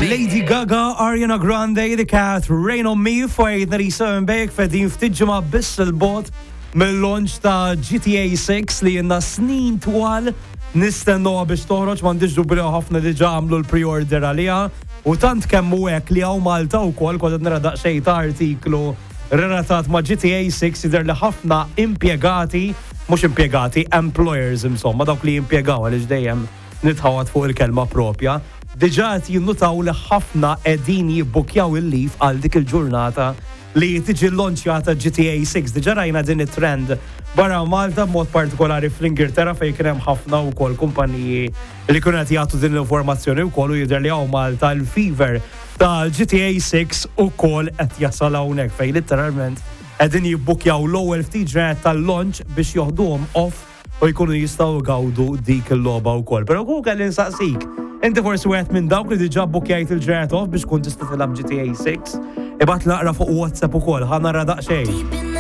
Lady Gaga, Ariana Grande, The Cat, Rain on Me, fuq 97 bejk fedin ftit ġimgħa biss il-bot mill-launch ta' GTA 6 li jenna snin twal nistennuha biex toħroġ m'għandix dubju li ħafna diġà għamlu l-pre-order għaliha u tant kemm hu hekk li hawn Malta wkoll kont qed nara daqsxejn ta' artiklu relatat ma' GTA 6 jidher li ħafna impjegati, mhux impjegati, employers insomma, dawk li jimpjegaw għaliex dejjem nitħawad fuq il-kelma propja, diġà qed jinnutaw li ħafna qegħdin jibbukjaw il-leave għal dik il-ġurnata li tiġi llonċjata GTA 6. Diġà rajna din it-trend barra Malta b'mod partikolari fl-Ingilterra fejn kien hemm ħafna wkoll kumpaniji li kienu qed jagħtu din l-informazzjoni wkoll u jidher li hawn Malta l-fever ta' GTA 6 ukoll qed jasal hawnhekk fejn litteralment qegħdin jibbukjaw l-ewwel ftit ġranet tal-launch biex joħduhom off u jkunu jistgħu jgawdu dik il-logħba wkoll. Però kieku kelli nsaqsik, inti forsi wieħed minn dawk li diġà bbukjajt il-ġranet off biex tkun tista' tilgħab GTA 6? Ibgħat naqra fuq WhatsApp ukoll, ħa nara daqsxejn.